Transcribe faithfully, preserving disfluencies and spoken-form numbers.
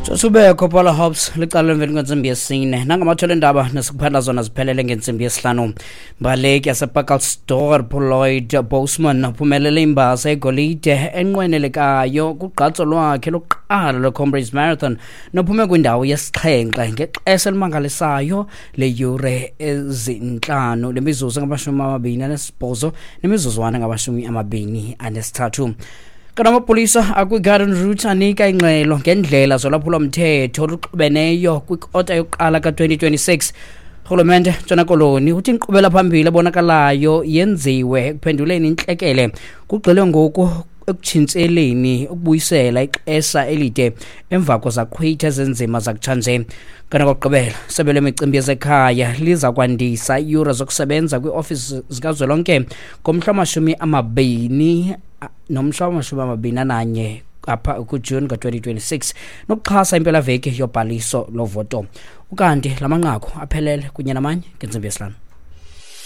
Sosubekho Paula Hobbs licala emveni kwentsimbi yesine. Nangamathole endaba nesikuphanda zona ziphelele ngentsimbi yesihlanu. Mbaleki yasePacaltsdorp Lloyd Bosman uphumelele imbasa egolide enqwenelekayo kugqatso lwakhe lokuqala lweComrades Marathon nophume kwindawo yesixhenxe ngexesha elimangalisayo leyure ezintlanu lemizuzu engamashumi amabini anesibhozo nemizuzwana engamashumi amabini anesithathu. Kanti amapolisa akwi-Garden Route anika ingxelo ngendlela zolwaphulomthetho oluxubeneyo kwikota yokuqala ka-twenty twenty-six. Urhulumente Ntshona Koloni uthi inkqubela phambili ebonakalayo yenziwe ekuphenduleni intlekele kugxilwe ngoku ekutshintsheleni ukubuyisela ixesha elide emva kwezaqhwithi ezinzima zakutshanje. Kanti okokugqibela, isebe lemicimbi yezekhaya liza kwandisa iiyure zokusebenza kwiiofisi zikazwelonke ngomhla wamashumi amabini nomhla wamashumi amabini ananye apha kuJuni ka-twenty twenty-six nokuxhasa impelaveki yobhaliso lovoto. Ukanti la manqaku aphelele kunye namanye ngentsimbi yesihlanu.